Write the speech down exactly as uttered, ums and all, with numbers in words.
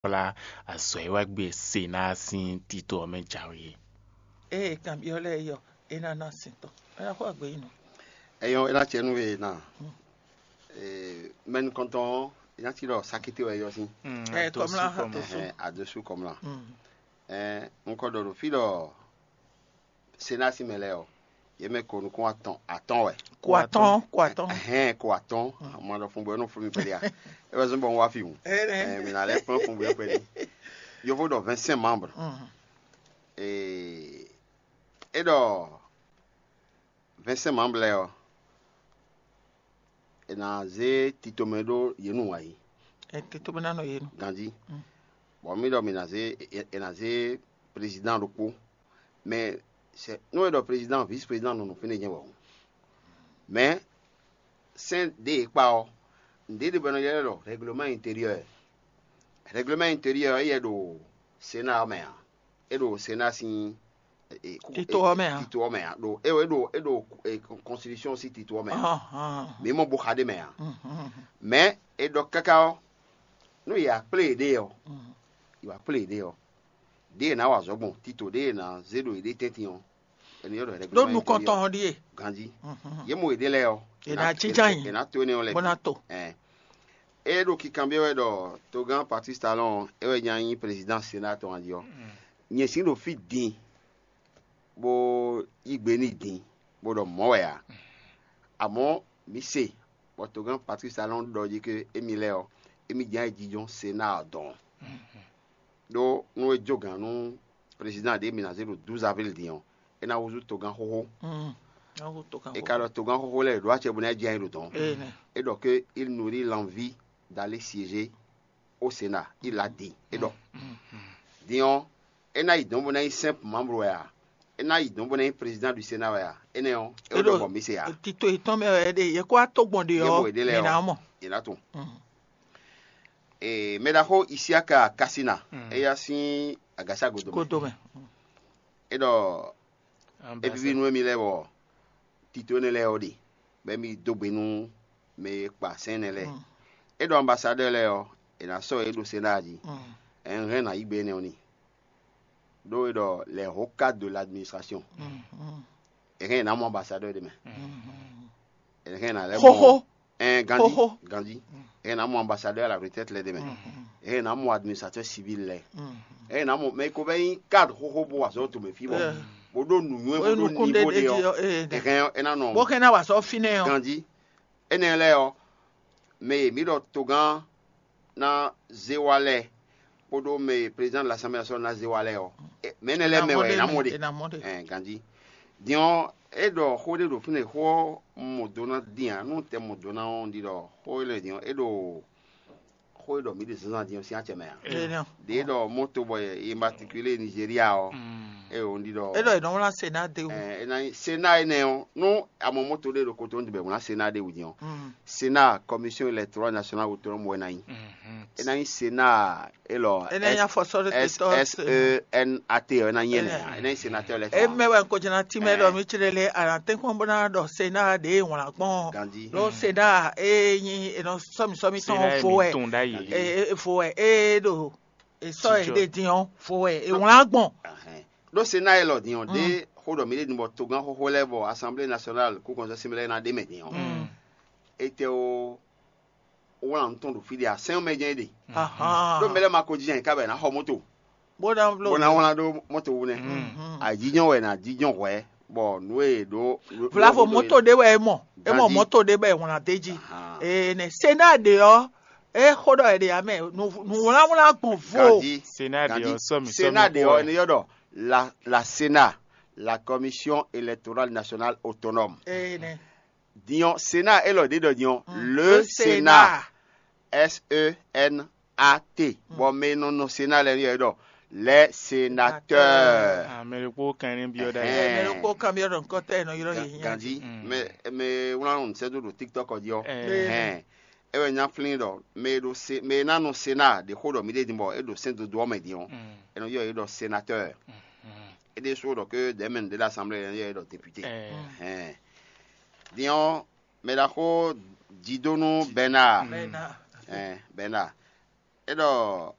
kplá azɔ̌ e wá gbe Senáa sín tito ɔ́ mɛ jǎwe é. Ée kanbyɔ́ lɛ́ɛ yɔ, é ná ná sin tɔn, é ná xo agbe nyi nɔ. Eyɔn, é ná cɛ nú we ná. Mɛnu kɔntɔn ɔ́, é ná ci ɖɔ sakité wɛ yɔ sín. Ɛ kɔmlá ha Ɛhɛn, adosu kɔmlá. Ɛn, un kɔ ɖɔ ɖo fí ɖɔ Senáa sín mɛ lɛ́ɛ ɔ́, yě mɛ ko nukún atɔn atɔn wɛ. Ko atɔn, ko atɔn. Ɛhɛn, ko atɔn. Mɔ ɖɔ fun bɔ é nɔ fún mi kpɛɖé a. É wɛ zɔn bɔ un wá fi hǔn. Ɛn, mi ná lɛ́ kplɔ́n fun bɔ é kpɛɖé. Yovo ɖɔ vingt-cinq membres. Ee, é ɖɔ vingt-cinq membres lɛ́ɛ ɔ́, è nǎ zé titomɛ ɖó yě nu wǎ yi. Ɛ tito bɛ ná nɔ yé nu. Ganjí. Bɔ mí ɖɔ mǐ ná zé è nǎ zé président ɖokpó, mais c'est nú è ɖɔ président, vice président nɔ nɔ fínɛ́ jɛ́n wɛ o. Mais sɛ́n ɖě e kpa ɔ́, nǔɖé ɖé bɔ è nɔ ylɔ́ ɖɔ règlement intérieur. Règlement intérieur éyɛ́ ɖo Sénat ɔ́ mɛ ǎ. É ɖo Sénat sín Tito ɔ́ mɛ ǎ. Tito ɔ́ mɛ ǎ. Ɖo é ɖo é ɖo constitution sín tito ɔ́ mɛ ǎ. Mǐ mɔ bo xa ɖ'é mɛ ǎ. Mɛ̌ è ɖɔ káká ɔ́, nú yě wá kplé yěɖée ɔ́, yě wá kplé yěɖée ɔ́, ɖěe è nǎ wa azɔ̌ gbɔn tito ɖěe è nǎ zé ɖo yěɖée tɛ́ntin ɔ́, è nɔ ylɔ́ ɖɔ ɖo nukɔntɔn ɔ́ ɖíe. Ganjí. Yě mɔ yěɖée lɛ́ɛ ɔ́, è nǎ jínjɔ́n ayǐ è nǎ to énɛ́ ɔ́ lɛ́ɛ bó ná to. É ɖo kikanbyɔ́ wɛ ɖɔ togán Patrice Talon é wɛ nya nyí président Sénat tɔn jí ɔ́. Nyɛ sǐ ɖo fí din bó yí gbe n'i din bó ɖɔ mɔ̌ wɛ ǎ. Amɔ̌ mǐ se bɔ togán Patrice Talon ɖɔ jí ké émí lɛ́ɛ ɔ́, émí jɛ́n ayǐjínjɔ́n Sénat ɔ́ dɔn. Ɖó nú é jó gǎn nú président ɖě mǐ ná zé ɖo douze avril din ɔ́, é ná húzú togán xóxó. É ka ɖɔ togán xóxó lɛ́ɛ ɖó acɛ bó ná jɛ ayǐ ɖo dɔn. É ɖɔ ké il nourrit l'envie d'aller siéger au Sénat, il l'a dit. É ɖɔ din ɔ́, é ná yi dɔn bó ná nyí simple membre wɛ a? É ná yi dɔn bó ná nyí président du Sénat wɛ a? Énɛ́ ɔ́, é ɖɔ bɔ mǐ se a? Tito yětɔn mɛ wɛ é ɖe, yě kó wá tó gbɔn ɖe ɔ́, mǐ ná mɔ. È nǎ tunwun. Ee, mɛ ɖaxó Isiaka Kasina, éyá sín agasa godo mɛ. Godo mɛ. É ɖɔ é víví nú émí lɛ́ɛ bɔ tito énɛ́ lɛ́ɛ ɔ́ ɖe, bɔ émí dó gbe nú mɛ e kpa sɛn énɛ́ lɛ́ɛ. É ɖɔ ambasadɛ́ lɛ́ɛ ɔ́, è nǎ sɔ́ yě ɖo Sénat jí. Ɛn hɛn ná yí gbe énɛ́ ɔ́ n'i. Ɖó é ɖɔ les hauts cadres de l'administration. È hɛn è nǎ mɔ ambasadɛ́ ɖé mɛ. È hɛn è nǎ lɛ́ mɔ xóxó. Ɛn ganjí. Xóxó. Ganjí. È hɛn è nǎ mɔ ambasadɛ́ à la retraite lɛ́ɛ ɖé mɛ. È hɛn è nǎ mɔ administrateur civil lɛ́ɛ. È hɛn è nǎ mɔ mɛ e ko vɛ́ nyí cadre xóxó bó wa azɔ̌ tɔn mɛ fí bɔ bó ɖó nǔnywɛ́ bó ɖó nukún ɖé niveau ɖé ɔ́. È hɛn è nǎ nɔ. Bó hɛn ná wa azɔ̌ fínɛ́ ɔ́. Ganjí. Énɛ́ lɛ́ɛ ɔ́, mɛ e mǐ ɖɔ togán ná zé wá lɛ́ɛ kpódó mɛ e président de l'Assemblée nationale ná zé wá lɛ́ɛ ɔ́, mɛ énɛ́ lɛ́ɛ mɛ wɛ è nǎ mɔ ɖe. Ɛn ganjí. Din ɔ́, é ɖɔ xó ɖé ɖo fínɛ́, xó ɔ́ mɔ do ná dín ǎ, nú tɛ mɔ do ná ɔ́, un ɖi ɖɔ xó énɛ́ din ɔ́, é ɖo xó e ɖɔ mǐ ɖe zǎnzǎn din ɔ́ sín acɛ mɛ ǎ. Ɖě ɖɔ moto bɔ è matriculé Nigeria ɔ́, é ɖo un ɖi ɖɔ. É ɖɔ è nɔ wlán Sénat ɖ'é wú. Ɛ, é ná nyí Sénat énɛ́ ɔ́, nú a mɔ moto ɖé ɖo kotonu bɔ è wlán Sénat ɖ'é wú din ɔ́, Sénat, Commission électorale nationale autonome wɛ ná nyí. É ná nyí Sénat élɔ́. É ná nyí afɔsɔ́ɖótó. S E N A T ɔ́, é ná nyí énɛ́ ǎ. É ná nyí sénateur électoral. É mɛ wɛ un ko jɛ́n ná tímɛ ɖɔ mì clé lé, a nǎ tɛ́nkpɔ́n bó ná ɖɔ Sénat ɖě wlán gbɔn. Ganjí. Ɖó Sénat é nyí è nɔ sɔ́mi sɔ́mi tɔn vo wɛ. Vo wɛ é ɖo è sɔ́ ɛ ɖe din ɔ́, vo wɛ è wlán gbɔn. Ɖó Sénat élɔ́ din ɔ́, ɖé xó ɖɔ mǐ ɖe din bɔ togán xóxó lɛ́ɛ bɔ Assemblée nationale kú kɔnsɛ́ sín lɛ́ɛ ná ɖe mɛ din ɔ́, étɛ́ ó wlán nǔ tɔn ɖo fí ɖé a? Sɛ́n ɔ́ mɛ jɛ́n é ɖe. Ɖó mɛ lɛ́ɛ ma ko jínjɔ́n ayǐká bɔ è nǎ xɔ moto bó ná bló bó ná wlán ɖó moto wú nɛ́. Ajínjɔ́n wɛ è nǎ jínjɔ́n hwɛ̌ bɔ nǔ e è ɖǒ. Vlavo moto ɖé wɛ é mɔ, é mɔ moto ɖé bɔ è wlán d'é jí. Ee, nɛ Sénat ɖe ɔ́, é xó ɖɔ è ɖe ǎ mɛ, nǔwlánwlán gbɔn vo. Ganjí. Sénat ɖe ɔ́, sɔ́mi sɔ́mi Sénat ɖe ɔ́, è nɔ ylɔ́ ɖɔ la la Sénat, la Commission électorale nationale autonome. Ee, nɛ. Din ɔ́, Sénat élɔ́ ɖě ɖɔ din ɔ́, le Sénat, S E N A T, bɔ mɛ e nɔ nɔ Sénat lɛ́ɛ nɔ́ ylɔ́ ɖɔ les sénateurs. Mɛ ɖokpó kan ní byɔ́ ɖa. Mɛ ɖokpó kan byɔ́ ɖɔ nukɔn tɛ nɔ ylɔ́ yě hiã. Ganjí, mɛ mɛ wlán nǔ sɛ́ dó ɖo TikTok ɔ́ jí ɔ́. Hɛn, é wɛ nyá flín ɖɔ mɛ e ɖo se mɛ e ná nɔ Sénat ɖě xó ɖɔ mǐ ɖe din bɔ é ɖo sɛ́n dodó ɔ́ mɛ din ɔ́, é nɔ ylɔ́ yě ɖɔ sénateur. É ɖésú ɖɔ ké dɛ̌mɛnu ɖé ɖo assemblée lɛ́ɛ é ɖɔ député. Hɛn. Din ɔ́, mɛ ɖaxó Jidónú Bɛnáa. Bɛnáa. Ɛn, Bɛnáa. É ɖɔ